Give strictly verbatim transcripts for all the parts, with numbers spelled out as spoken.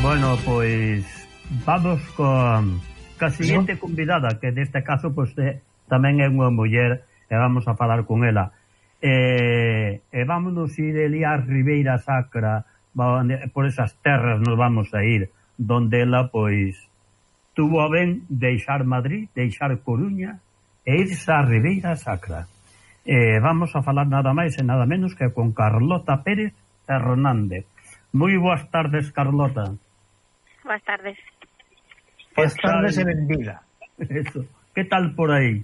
Bueno, pois vamos con ca seguinte convidada, que neste caso pois é, tamén é unha muller, e vamos a falar con ela. E, e vámonos ir ali a Ribeira Sacra, por esas terras nos vamos a ir, donde ela pois tuvo a ben deixar Madrid, deixar Coruña e irse a Ribeira Sacra. E vamos a falar nada máis e nada menos que con Carlota Pérez Hernández. Moi boas tardes, Carlota. Boas tardes. Boas tardes e benvida. Eso. Que tal por aí?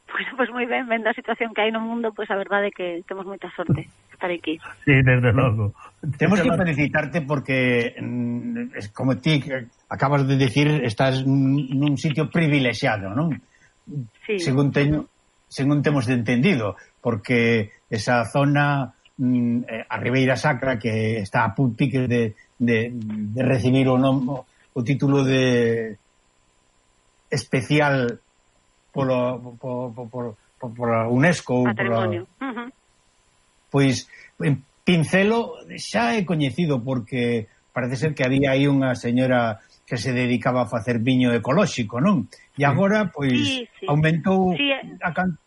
Bueno, pues moi ben, vendo a situación que hai no mundo, pois pues a verdade é que temos moita sorte estar aquí. Sí, desde logo. Temos que felicitarte porque, como ti acabas de decir, estás nun sitio privilexiado, non? Sí. Según teño, según temos entendido, porque esa zona, a Ribeira Sacra, que está a puntiques de De, de recibir o, nom, o título de especial polo, por, por, por, por a UNESCO ou patrimonio. Uh -huh. Pois en Pincelo xa é coñecido porque parece ser que había aí unha señora que se dedicaba a facer viño ecolóxico, non? E agora pois sí, sí. aumentou sí, a can...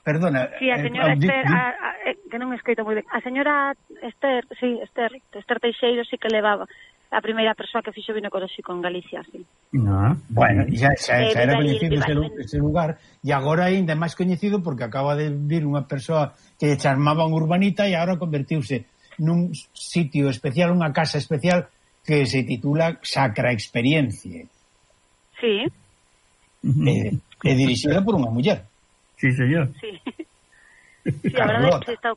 Perdona. Sí, a señora eh, Esther, a, a, que non escrito moi ben. A señora Esther, sí, Esther, Esther Teixeiro sí que levaba a primeira persoa que fixo vino ecolóxico en Galicia, sí. No, bueno, xa, xa, xa era coñecido ese, ese lugar e agora ainda máis coñecido porque acaba de vir unha persoa que charmaba un urbanita e agora convertiuse nun sitio especial, unha casa especial que se titula Sacra Experiencia. Sí. É, é dirixida por unha muller. Sí, señor. Sí. Sí, a verdade é que está,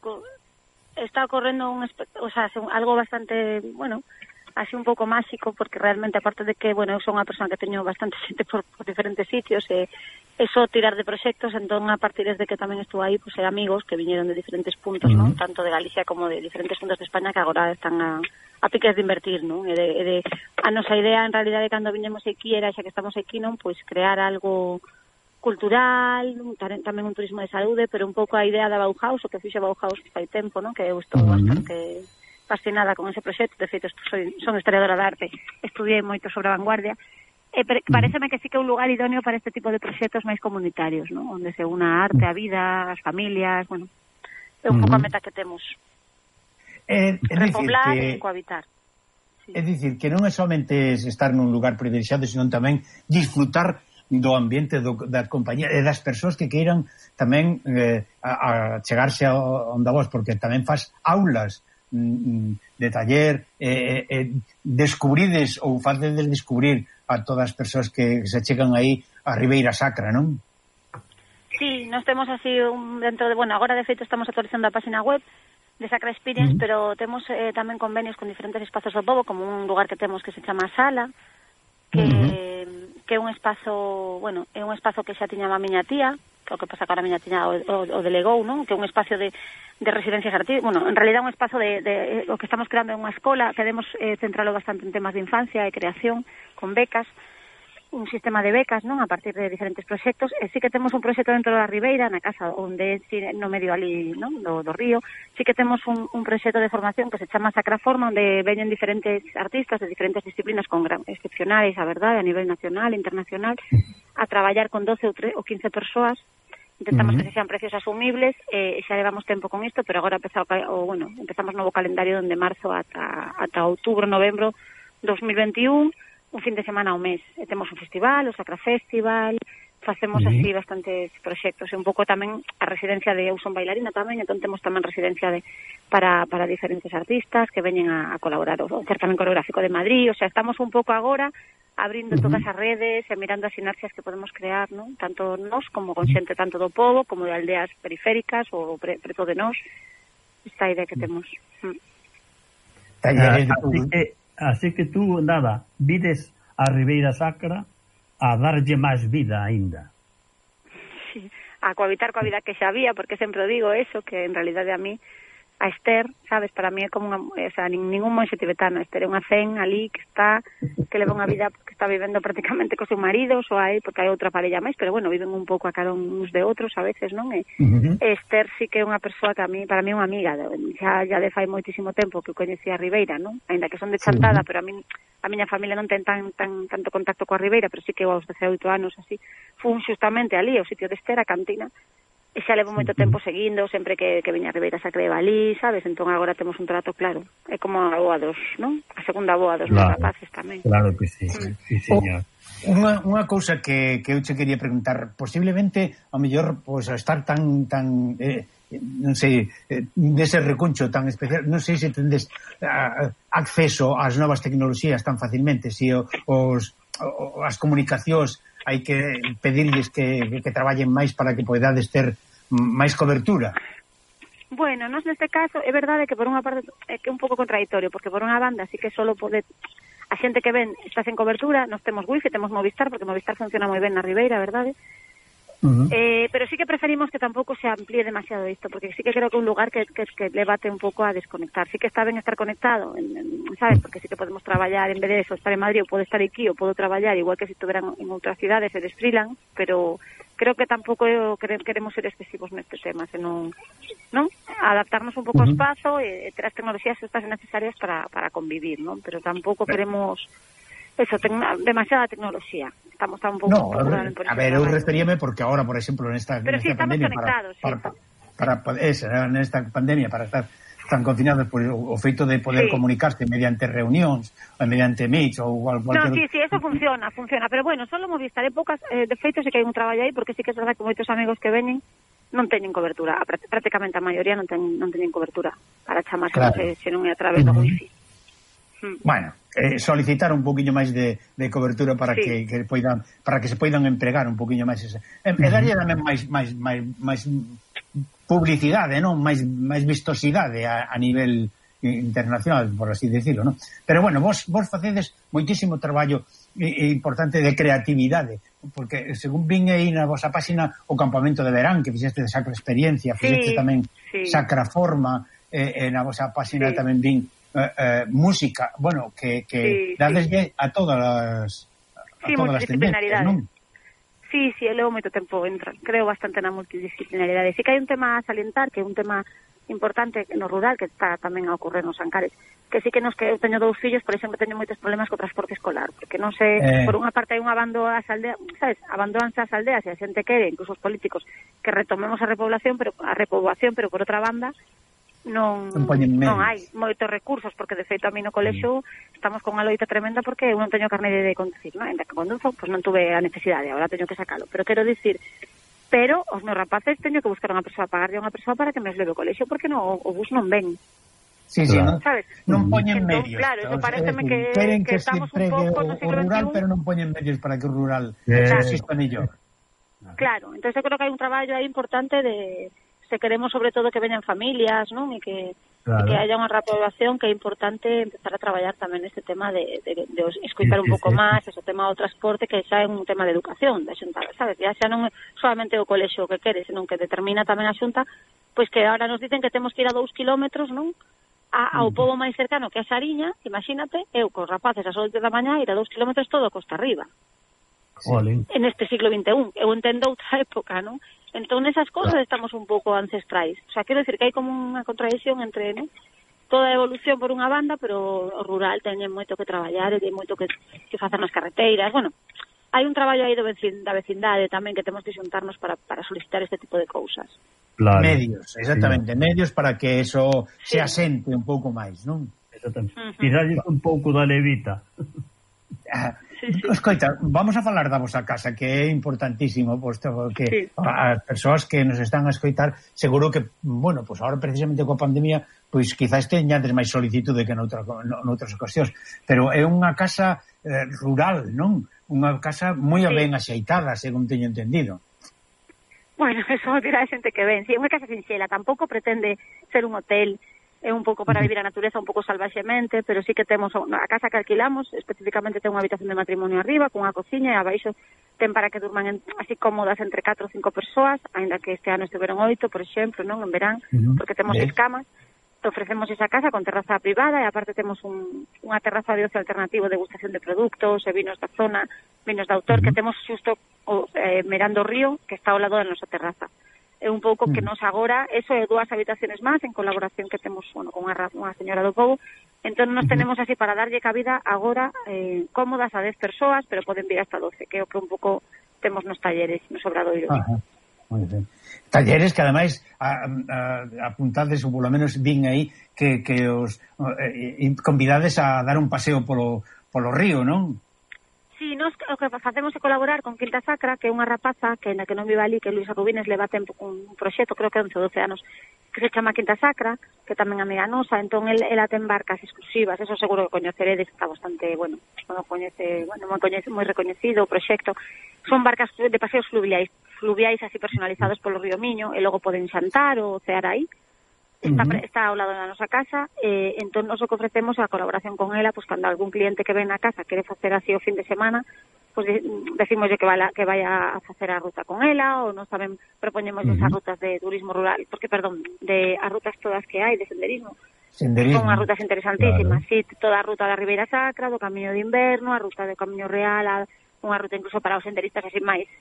está ocorrendo un, o sea, algo bastante, bueno, así un pouco máxico, porque realmente, aparte de que, bueno, eu son unha persona que teño bastante xente por, por diferentes sitios, e eso tirar de proxectos, entón, a partir de que tamén estou aí, pues, hai amigos que viñeron de diferentes puntos, uh -huh. ¿no? Tanto de Galicia como de diferentes puntos de España, que agora están a, a piques de invertir, ¿no? E de, e de, a nosa idea, en realidade, cando viñemos aquí, era, xa que estamos aquí, non? Pois crear algo cultural, tamén un turismo de saúde, pero un pouco a idea da Bauhaus, o que fixe Bauhaus fai tempo, non? Que eu estou uh -huh. bastante fascinada con ese proxecto. De feito, soy, son historiadora de arte, estudiei moito sobre a vanguardia, e pareceme que sí que é un lugar idóneo para este tipo de proxectos máis comunitarios, non? Onde se una a arte, a vida, as familias, bueno, é un uh -huh. pouco a meta que temos. É, é repoblar que... e cohabitar. Sí. É dicir, que non é somente estar nun lugar privilexiado, senón tamén disfrutar do ambiente, do, da compañía e das persoas que queiran tamén eh, a, a chegarse a onde vos, porque tamén faz aulas mm, de taller eh, eh, descubrides ou facedes descubrir a todas as persoas que se chegan aí a Ribeira Sacra, non? Sí, nos temos así un, dentro de, bueno, agora de feito estamos actualizando a página web de Sacra Experience, uh -huh. pero temos eh, tamén convenios con diferentes espazos do pobo, como un lugar que temos que se chama Sala, que, uh -huh. que é un espazo, bueno, é un espazo que xa tiña a miña tía, que o que pasa que ahora a miña tía o, o, o delegou, non? Que é un espazo de, de residencias artísticas, bueno, en realidad un espazo de, de, o que estamos creando é unha escola, queremos eh, centralo bastante en temas de infancia e creación, con becas, un sistema de becas, non? A partir de diferentes proxectos, e sí que temos un proxecto dentro da Ribeira, na casa onde no medio ali, non? Do, do río, sí que temos un, un proxecto de formación que se chama Sacra Forma, onde veñen diferentes artistas de diferentes disciplinas con gran, excepcionais, a verdade, a nivel nacional, internacional, a traballar con doce ou, trece, ou quince persoas. Intentamos uh -huh. que sean precios asumibles, e xa levamos tempo con isto, pero agora empezamos, o, bueno, empezamos novo calendario donde marzo ata, ata outubro, novembro dos mil veintiún, un fin de semana ao mes. E temos un festival, o Sacra Festival, facemos uh -huh. así bastantes proxectos, e un pouco tamén a residencia de eu son bailarina tamén, entón temos tamén residencia de para, para diferentes artistas que veñen a, a colaborar, o certamen coreográfico de Madrid, o sea, estamos un pouco agora abrindo uh -huh. todas as redes e mirando as sinerxias que podemos crear, ¿no? Tanto nós como con xente tanto do pobo como de aldeas periféricas ou pre, preto de nós, esta idea que temos. Mm. Así que Así que tú, nada, vides a Ribeira Sacra a darlle máis vida aínda. Sí, a cohabitar coa vida que xa había, porque sempre digo eso, que en realidade a mí a Esther, sabes, para mí é como unha, o sea, ningún monxe tibetano, Esther é unha zen ali que está, que leva unha vida que está vivendo prácticamente co seu marido, só hai, porque hai outra parella máis, pero bueno, viven un pouco a cada uns de outros a veces, non? E, uh-huh. Esther sí que é unha persoa que a mí, para mí é unha amiga, xa, já de fai moitísimo tempo que coñecí a Ribeira, non? Ainda que son de Chantada, uh-huh. pero a mí, a miña familia non ten tan, tan tanto contacto coa Ribeira, pero sí que eu aos dezaoito anos así, fun xustamente ali, ao sitio de Esther, a cantina, e xa levo moito tempo seguindo, sempre que, que viña a Ribeira xa creba ali, sabes? Entón agora temos un trato claro. É como a boa dos, non? A segunda boa dos claro, rapaces tamén. Claro que sí, mm. sí, señor. Unha, unha cousa que, que eu che quería preguntar, posiblemente, ao mellor, pois, pues, estar tan, tan eh, non sei, eh, dese recuncho tan especial, non sei se tendes uh, acceso ás novas tecnoloxías tan facilmente, se os, os, as comunicacións hai que pedirles que, que, que traballen máis para que podades ter máis cobertura. Bueno, nos neste caso é verdade que por unha parte é que é un pouco contradictorio, porque por unha banda sí que solo pode a xente que ven está sen cobertura, nos temos wifi, temos Movistar, porque Movistar funciona moi ben na Ribeira, verdade? Uh-huh. Eh, pero sí que preferimos que tampouco se amplíe demasiado isto, porque sí que creo que é un lugar que, que, que levate un pouco a desconectar. Sí que está ben estar conectado, en, en, sabes, porque sí que podemos traballar en vez de eso, estar en Madrid, ou podo estar aquí, ou podo traballar igual que se si estuveran en outras cidades e desfrilan, pero creo que tampouco queremos ser excesivos neste tema, senón, non? Adaptarnos un pouco uh-huh. ao espazo e ter as tecnoloxías estas necesarias para, para convivir, non? Pero tampouco queremos eso, tecno, demasiada tecnoloxía. Estamos tan un pouco... No, a ver, eu referíame porque ahora, por exemplo, nesta, Pero nesta sí, pandemia... Pero sí, para, para, para, esa, nesta pandemia, para estar tan confinados por o feito de poder sí. comunicarse mediante reunións, ou mediante meets, ou cualquier... No, sí, sí, eso funciona, funciona. Pero bueno, solo Movistar, en poucas, eh, de feito, sí que hai un traballo aí, porque sí que é verdade que moitos amigos que veñen non teñen cobertura. Prácticamente a maioría non, ten, non teñen cobertura para chamar claro. se, se non é a través uh-huh. do wifi. Bueno, eh, solicitar un poquinho máis de, de cobertura para sí. que, que poidan, para que se poidan empregar un poquinho máis esa. E, e daría tamén máis máis máis máis publicidade, non? Máis máis vistosidade a, a nivel internacional, por así decirlo, non? Pero bueno, vos vos facedes moitísimo traballo e, e importante de creatividade, porque según vin aí na vosa páxina o campamento de verán que fixeste de Sacra Experiencia, fixeste sí, tamén sí. Sacra Forma, e, e na vosa páxina sí. tamén vin Uh, uh, música, bueno, que, que sí, dades sí. a todas as a sí, todas as tendencias, non? Sí, sí, eu levo moito tempo, entra, creo bastante na multidisciplinaridade. Sí que hai un tema a salientar, que é un tema importante no rural, que está tamén a ocorrer nos Ancares, que sí que nos que eu teño dous fillos, por exemplo, teño moitos problemas co transporte escolar, porque non sei, eh... por unha parte hai un abandono ás aldeas, sabes, abandonanse as aldeas e a xente quere, incluso os políticos, que retomemos a repoblación, pero a repoboación, pero por outra banda non, non hai moitos recursos, porque de feito a mí no colexo mm. estamos con unha loita tremenda porque eu non teño carne de conducir, non? Ainda que conduzo, pois non tuve a necesidade, agora teño que sacalo, pero quero dicir, pero os meus rapaces teño que buscar unha persoa, pagarlle a unha persoa para que me os leve ao colexo, porque no, o bus non ven. Sí, sí, non, sabes? Non poñen entón, medios. Claro, eso pareceme que, que, que estamos un pouco no siglo o rural, veintiún, pero non poñen medios para que o rural exista mellor. Claro, entón eu creo que hai un traballo aí importante de se queremos sobre todo que veñan familias, non? E que, claro. e que haya unha repoblación, que é importante empezar a traballar tamén neste tema de, de, de escoitar sí, un pouco sí, máis, sí. ese tema do transporte, que xa é un tema de educación da Xunta, sabes? Ya xa non é solamente o colexo que quere, senón que determina tamén a Xunta, pois que ahora nos dicen que temos que ir a dous kilómetros, non? A, ao pobo máis cercano, que é Sariña, imagínate, eu cos rapaces ás oito da mañá ir a dous kilómetros todo costa arriba. Sí. En este siglo veintiún, eu entendo outra época, non? Entón, esas cosas estamos un pouco ancestrais. O sea, quero dicir que hai como unha contradicción entre, ¿no? Toda a evolución por unha banda, pero o rural teñen moito que traballar e ten moito que, que facer nas carreteiras. Bueno, hai un traballo aí do vecin, da vecindade tamén que temos que xuntarnos para, para solicitar este tipo de cousas. Claro. Medios, exactamente, sí. Medios para que eso sí. se asente un pouco máis, non? Exactamente. Uh-huh. Tirarles un pouco da levita. Ah, sí, sí. Escoita, vamos a falar da vosa casa, que é importantísimo, posto que sí. as persoas que nos están a escoitar, seguro que, bueno, pues ahora precisamente coa pandemia, pois quizás teñades máis solicitude que noutra, noutras ocasións, pero é unha casa eh, rural, non? Unha casa moi sí. ben axeitada, según teño entendido. Bueno, eso dirá a xente que ven, si, sí, é unha casa sinxela, tampouco pretende ser un hotel, é un pouco para vivir a natureza un pouco salvaxemente, pero sí que temos a casa que alquilamos, especificamente ten unha habitación de matrimonio arriba, con unha cociña, e abaixo ten para que durman en, así cómodas entre catro ou cinco persoas, aínda que este ano estiveron oito, por exemplo, non, en verán, uh-huh. porque temos seis camas, ofrecemos esa casa con terraza privada e aparte temos un, unha terraza de ocio alternativo de degustación de produtos e vinos da zona, vinos de autor, uh -huh. que temos xusto o, eh, mirando o río que está ao lado da nosa terraza. É un pouco uh -huh. que nos agora, eso é dúas habitaciones máis en colaboración que temos bueno, con unha, unha señora do povo. Entón nos uh -huh. tenemos así para darlle cabida agora eh, cómodas a dez persoas, pero poden vir hasta doce, que é o que un pouco temos nos talleres, nos obradoiros. Ajá. Moi ben. Talleres que ademais a, a, apuntades ou polo menos vin aí que, que os eh, convidades a dar un paseo polo, polo río, non? Sí, nos o que facemos é colaborar con Quinta Sacra, que é unha rapaza que na que non viva ali, que Luisa Rubines leva tempo un proxecto, creo que once ou doce anos, que se chama Quinta Sacra, que tamén amiga nosa, entón el, ela ten barcas exclusivas, eso seguro que coñeceredes, está bastante, bueno, non coñece, bueno, moi coñece, moi recoñecido o proxecto. Son barcas de paseos fluviais, fluviais así personalizados polo río Miño, e logo poden xantar ou cear aí. Está, uh -huh. está ao lado da nosa casa, eh, entón nos o que ofrecemos a colaboración con ela, pues cando algún cliente que ven na casa quere facer así o fin de semana, pues de, decimoslle que vaya, que vaya a facer a ruta con ela, ou nos saben, propoñemos uh -huh. esas rutas de turismo rural, porque, perdón, de as rutas todas que hai de senderismo, senderismo. Son as rutas interesantísimas, Claro. sí, toda a ruta da Ribeira Sacra, do Camiño de Inverno, a ruta do Camiño Real, a, unha ruta incluso para os senderistas así máis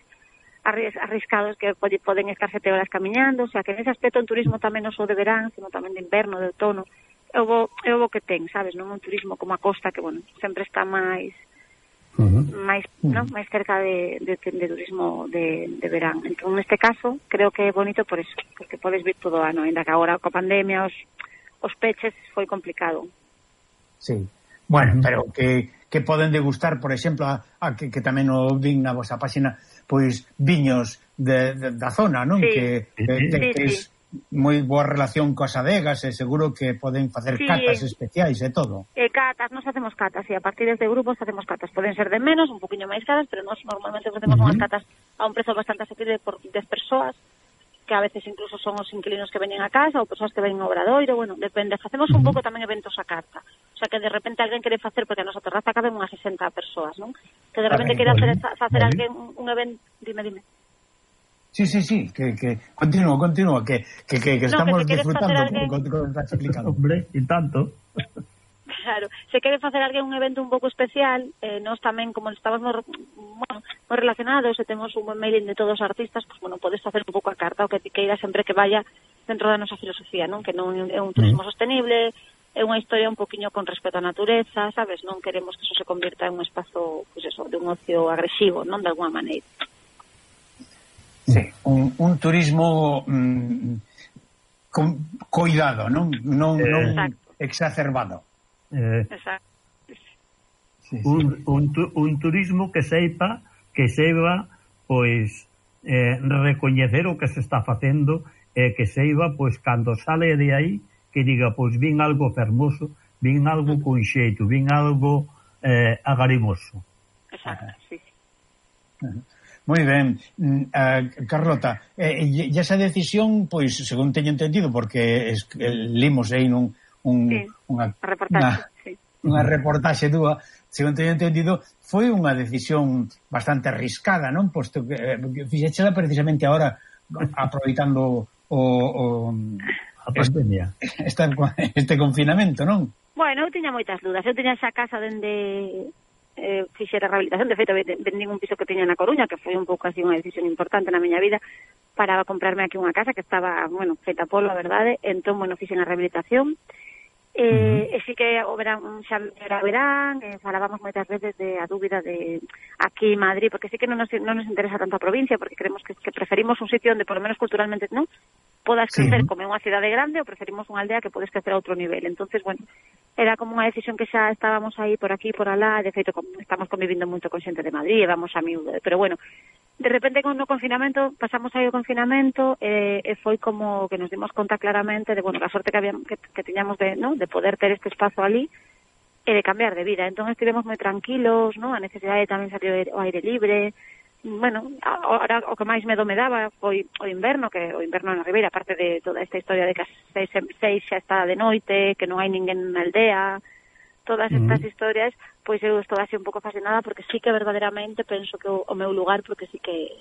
arriscados que poden estar sete horas camiñando, o sea que nese aspecto un turismo tamén non só de verán, sino tamén de inverno, de outono, é o, é o que ten, sabes, non un turismo como a costa que, bueno, sempre está máis uh -huh. máis, uh -huh. non, máis cerca de, de, de turismo de, de verán. Entón, neste caso, creo que é bonito por eso, porque podes vir todo o ano, ainda que agora coa pandemia os, os peches foi complicado. Sí. Bueno, pero que, que poden degustar, por exemplo, a, a que, que tamén o vin na vosa página, pois viños de, de, da zona, non? Sí. Que, de, de, sí, que sí. es moi boa relación coas adegas e seguro que poden facer sí. catas especiais e todo. E catas, nos facemos catas, e a partir desde grupos facemos catas. Poden ser de menos, un poquinho máis caras, pero nos normalmente facemos uh -huh. unhas catas a un prezo bastante asequible por dez persoas, que a veces incluso son os inquilinos que veñen a casa ou persoas que veñen ao obradoiro, bueno, depende. Facemos un pouco tamén eventos a carta. O sea, que de repente alguén quere facer, porque a nosa terraza caben unhas sesenta persoas, non? Que de repente quere hacer, facer alguén un evento... Dime, dime. Sí, sí, sí, que, que continúa, continúa, que, que, que, que no, estamos que disfrutando alguén... con, con, con estás explicando. Hombre, e tanto. Claro, se quere facer alguén un evento un pouco especial, eh, nós tamén, como estamos moi, bueno, moi relacionados e temos un buen mailing de todos os artistas, pues, bueno, podes facer un pouco a carta o que te queira sempre que vaya dentro da nosa filosofía, non? Que non é un turismo mm. sostenible, é unha historia un poquinho con respecto á natureza, sabes? Non queremos que eso se convirta en un espazo, pues eso, de un ocio agresivo, non? De alguma maneira. Sí, un, un turismo mm, con cuidado, non? Non, eh, non exacerbado. Eh, Exacto. Sí, sí. Un, un, un turismo que seipa que seiba pois eh, recoñecer o que se está facendo e eh, que seiba pois cando sale de aí que diga pois vin algo fermoso, vin algo con xeito, vin algo eh, agarimoso. Exacto, sí. Moi ben, uh, Carlota, eh, e esa decisión, pois, según teño entendido, porque es, eh, limos aí nun un, sí, unha, reportaxe, unha, sí. unha reportaxe túa, según teño entendido, foi unha decisión bastante arriscada, non? Posto que eh, fixéchela precisamente agora aproveitando o, o a pandemia. Este, este confinamento, non? Bueno, eu tiña moitas dudas. Eu tiña esa casa dende eh, fixera rehabilitación. De feito, vendín un piso que tiña na Coruña, que foi un pouco así unha decisión importante na miña vida, para comprarme aquí unha casa que estaba, bueno, feita polo, a verdade. Entón, bueno, fixen a rehabilitación. Eh, uh -huh. E sí que o verán, xa era verán, eh, falábamos moitas veces de a dúbida de aquí en Madrid, porque sí que non nos, non nos interesa tanto a provincia, porque creemos que, que preferimos un sitio onde, por lo menos culturalmente, non podas crecer sí. como unha cidade grande, ou preferimos unha aldea que podes crecer a outro nivel. Entonces, bueno, era como unha decisión que xa estábamos aí por aquí, por alá, de feito, estamos convivindo moito con xente de Madrid, e vamos a miúdo, pero bueno, de repente con o confinamento, pasamos aí o confinamento e, e foi como que nos dimos conta claramente de, bueno, a sorte que, habíamos, que, que tiñamos de, ¿no? de poder ter este espazo ali e de cambiar de vida. Entón estivemos moi tranquilos, ¿no? A necesidade tamén salir ao aire libre. Bueno, ahora o que máis medo me daba foi o inverno, que o inverno na Ribeira, aparte de toda esta historia de que as seis, seis xa está de noite, que non hai ninguén na aldea, todas estas uh -huh. historias, pois eu estou así un pouco fascinada, porque sí que verdadeiramente penso que o, o meu lugar, porque sí que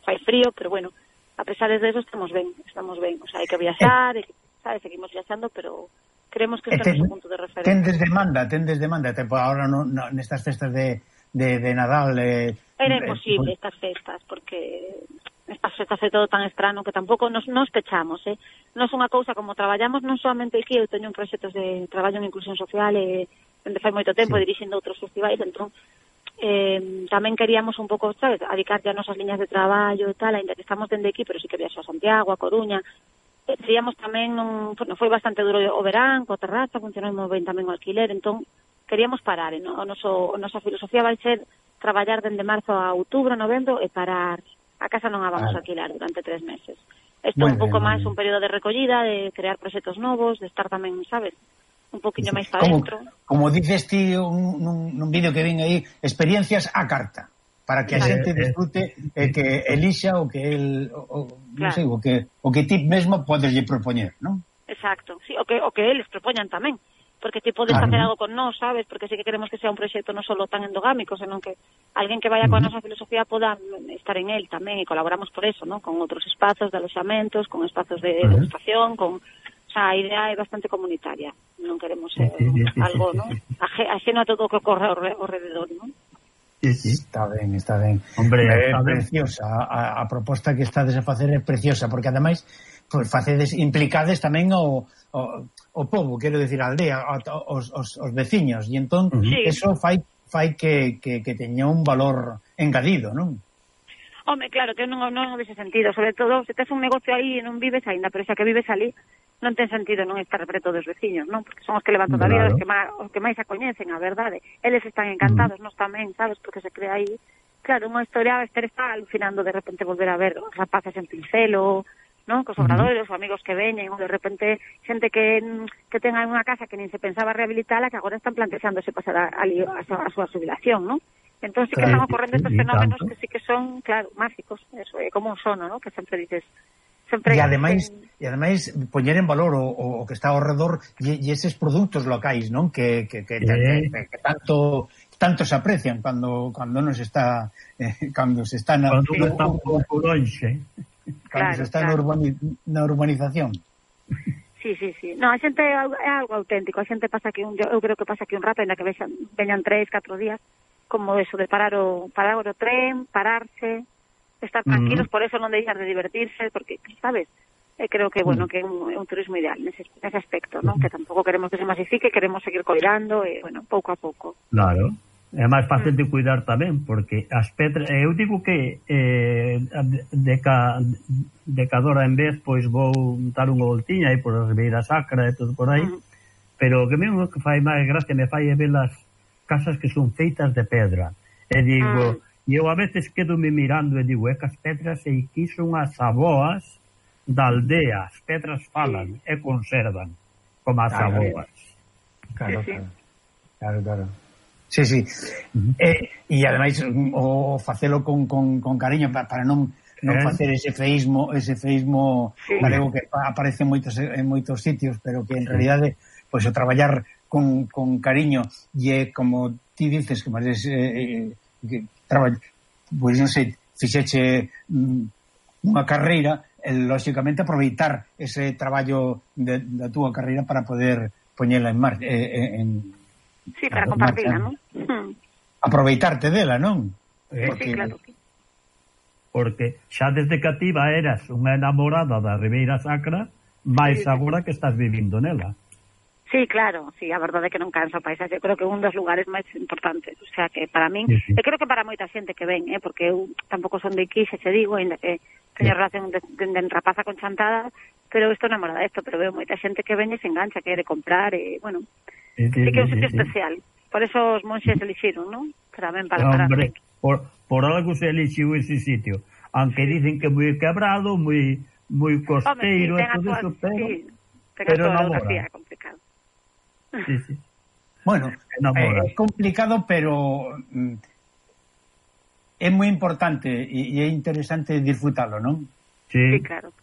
fai frío, pero bueno, a pesar de eso estamos ben, estamos ben, o sea, hai que viaxar, e sabes, seguimos viaxando, pero creemos que este é un punto de referencia. Tendes demanda, tendes demanda, tipo, ahora no, no, nestas festas de, de, de Nadal... Eh, Era imposible eh, estas festas, porque estas festas é todo tan estrano que tampouco nos, nos pechamos, eh? Non é unha cousa como traballamos, non solamente aquí, eu teño un proxectos de traballo en inclusión social, e eh, onde fai moito tempo sí. dirixindo outros festivais, entón, Eh, tamén queríamos un pouco, sabes, adicar ya nosas liñas de traballo e tal, ainda que estamos dende aquí, pero sí que viaxo a Santiago, a Coruña. Eh, Seríamos tamén, un, bueno, foi bastante duro o verán, coa terraza, funcionou moi ben tamén o alquiler, entón queríamos parar, eh, no? o noso, a nosa filosofía vai ser traballar dende marzo a outubro, novembro e parar. A casa non a vamos a alquilar durante tres meses. Isto é un pouco máis un período de recollida, de crear proxectos novos, de estar tamén, sabes, un poquinho máis para dentro. Como dices ti un, nun, nun vídeo que vin aí, experiencias a carta, para que a xente disfrute e que elixa o que el, o, claro. non sei, o que o que ti mesmo podes lle propoñer, non? Exacto, sí, o que o que eles propoñan tamén, porque ti podes claro. facer algo con nós, sabes, porque sí que queremos que sea un proxecto non solo tan endogámico, senón que alguén que vaya uh -huh. coa nosa filosofía poda estar en el tamén, e colaboramos por eso, ¿no? Con outros espazos de aloxamentos, con espazos de uh -huh. degustación, con... O sea, a idea é bastante comunitaria. Non queremos ser sí, sí, sí, algo, sí, sí, sí. ¿no? Ajeno a todo o que ocorre ao redor, non? Sí, sí. Está ben, está ben. Hombre, é está preciosa. A, a proposta que estades a facer é preciosa, porque ademais pues, facedes, implicades tamén o, o, o povo, quero decir, a aldea, os, os, os veciños, e entón uh -huh. eso fai, fai que, que, que teña un valor engadido, non? Home, claro, que non, non vese sentido, sobre todo se tes un negocio aí e non vives aínda, pero xa que vives ali non ten sentido non estar preto dos veciños, non? Porque son os que levan toda a vida, claro. os, que máis, os que máis a coñecen, a verdade. Eles están encantados, mm. nós tamén, sabes? Porque se crea aí, claro, unha historia, Esther está alucinando de repente volver a ver os rapaces en Pincelo, non? Cos obradores, mm. os amigos que veñen, ou de repente xente que, que tenga unha casa que nin se pensaba rehabilitala, que agora están plantexándose pasar a, a, a, a súa jubilación, non? Entón sí que claro, están ocorrendo estes fenómenos que sí que son, claro, mágicos, eso é como un sono, ¿no? Que sempre dices... Sempre e ademais, e ademais poñer en valor o, o que está ao redor e, e eses produtos locais, non? Que, que, que, eh. que, que tanto tanto se aprecian cando cando nos está eh, cando se está na, cando está un pouco lonxe, cando claro, se está claro. na, urbani, na urbanización. Sí, sí, sí. No, a xente é algo auténtico, a xente pasa aquí un, eu creo que pasa aquí un rato, ainda que vexan, veñan tres, catro días, como eso de parar o parar o tren, pararse, estar tranquilos, uh -huh. por eso non deixar de divertirse, porque, sabes, eh, creo que, bueno, que é un, un turismo ideal nese, nese aspecto, ¿no? Uh -huh. Que tampouco queremos que se masifique, queremos seguir coidando, e, eh, bueno, pouco a pouco. Claro, é máis fácil uh -huh. de cuidar tamén, porque as pedras, eu digo que eh, de, ca, de cadora en vez, pois vou dar unha voltiña aí por a Ribeira Sacra e todo por aí, uh -huh. pero que mesmo que fai máis gracia me fai é ver as casas que son feitas de pedra, e digo... Uh -huh. E eu a veces quedo me mirando e digo, é que as pedras e aquí son as aboas da aldea, as pedras falan sí. e conservan como as claro, aboas. Claro, sí, claro. Claro, claro. Sí, sí. Uh -huh. eh, e ademais o facelo con, con, con cariño para, para non non eh? facer ese feísmo, ese feísmo sí. galego que aparece en moitos en moitos sitios, pero que en sí. realidade pois pues, o traballar con, con cariño e é como ti dices que máis eh, que traballo, pois non sei, fixeche mm, unha carreira, e, lóxicamente aproveitar ese traballo de, da túa carreira para poder poñela en marcha eh, en, sí, para compartirla, non? Aproveitarte dela, non? Sí, porque, sí, claro. Porque xa desde cativa eras unha enamorada da Ribeira Sacra, máis sí, agora que estás vivindo nela. Sí, claro, sí, a verdade é que non cansa o paisaxe, eu creo que é un dos lugares máis importantes, o sea, que para min, sí, sí. e creo que para moita xente que ven, eh, porque eu tampouco son de aquí, se che digo, ainda que teño sí. relación de, de, de rapaza con Chantada, pero estou enamorada desto, pero veo moita xente que ven e se engancha, quere comprar, e, bueno, sí, sí, sí que é un sitio sí, especial, sí. por eso os monxes elixiron, non? Pero ben para parar. Hombre, por, por algo se elixiu ese sitio, aunque sí. dicen que moi quebrado, moi moi costeiro, Hombre, sí, e todo eso, pero, sí, pero namora. Complicado. Sí, sí. Bueno, é eh, complicado, pero mm, é moi importante e, e é interesante disfrutalo, non? Sí, sí, claro.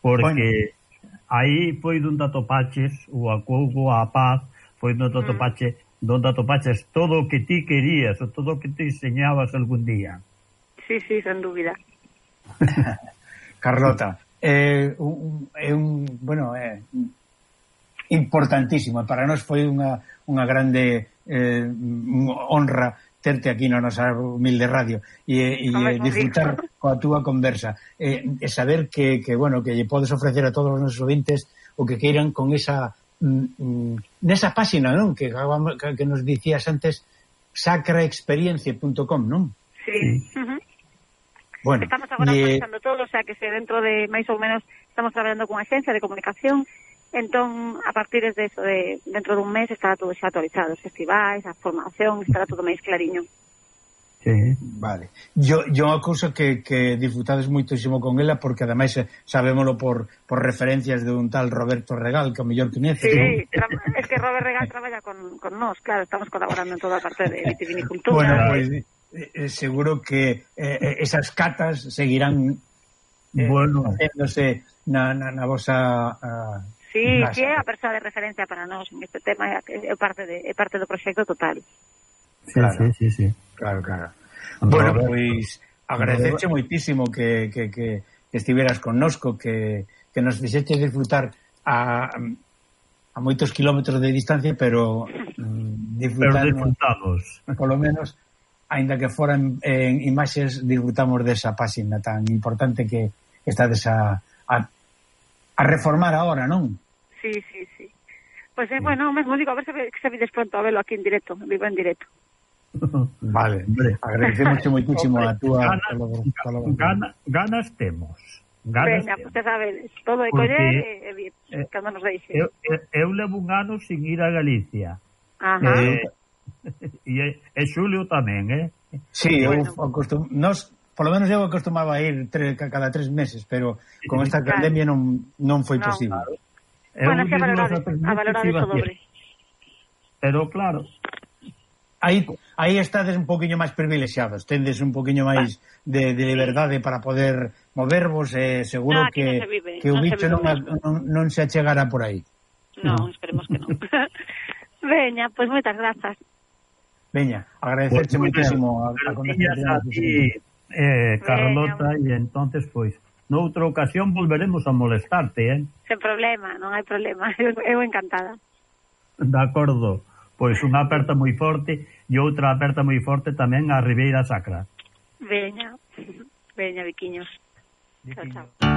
Porque bueno. aí foi donde atopaches o acougo, a paz, foi donde atopaches, mm. donde atopaches todo o que ti querías, o todo o que te enseñabas algún día. Sí, sí, sen dúbida. Carlota, é un, é un bueno, é importantísimo. Para nós foi unha, unha grande eh, honra terte aquí na nosa humilde radio e, e disfrutar coa túa conversa e, e saber que, que, bueno, que lle podes ofrecer a todos os nosos ouvintes o que queiran con esa mm, nesa páxina, non? Que, que nos dicías antes, sacraexperiencia punto com, non? Sí. Uh-huh. Bueno, estamos agora e... actualizando todo, o sea que se dentro de máis ou menos estamos traballando con agencia de comunicación. Entón, a partir de eso, de, dentro dun mes, estará todo xa actualizado, os festivais, a formación, estará todo máis clariño. Sí, vale. Yo, yo unha cousa que, que disfrutades moitísimo con ela, porque ademais sabémolo por, por referencias de un tal Roberto Regal, que o mellor coñece. Sí, tra- es que Robert Regal traballa con, con nós, claro, estamos colaborando en toda a parte de vitivinicultura. Bueno, pues, eh, seguro que eh, esas catas seguirán eh, bueno. haciéndose na, na, na vosa... Uh, Sí, sí, é a persoa de referencia para nós en este tema, é parte de é parte do proxecto total. Sí, claro. sí, sí, sí. Claro, claro. Bueno, pois agradecerche moitísimo que, que, que estiveras connosco, que, que nos fixeches disfrutar a, a moitos kilómetros de distancia, pero mm, disfrutar, pero disfrutamos. Por lo menos, aínda que foran en imaxes, disfrutamos desa páxina tan importante que estades a, a, a reformar agora, non? Sí, sí, sí. Pues eh, bueno, mesmo digo, a ver se, se vides pronto a verlo aquí en directo, vivo en directo. Vale, hombre, agradecemos moitísimo a túa colaboración. Gana, ganas temos. Ganas Venga, usted sabe, todo de coller e eh, eh, cando nos deixe. Eu, eu, eu levo un ano sin ir a Galicia. Ajá. Eh, e, e Xulio tamén, eh? Sí, bueno. eu acostum... Nos, por lo menos eu acostumaba a ir tre, cada tres meses, pero con esta claro. pandemia non, non foi no. posible. Claro. Bueno, que a valorade, a valorade iso doble. Pero claro, aí aí estades un poquinho máis privilexiados, tendes un poquinho máis de, de liberdade para poder movervos, e eh, seguro no, que, no vive, que o no bicho non, non, non se achegara por aí. No, esperemos que non. Veña, pois pues moitas grazas. Veña, agradecerche pues, moitísimo a, a conversación a ti, eh, Carlota, e entonces pois pues, noutra ocasión volveremos a molestarte, eh? Sen problema, non hai problema. Eu, eu encantada. De acordo. Pois unha aperta moi forte e outra aperta moi forte tamén a Ribeira Sacra. Veña. Veña, Viquiños. Viquiños. Chao, chao.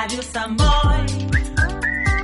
Radio Samboy.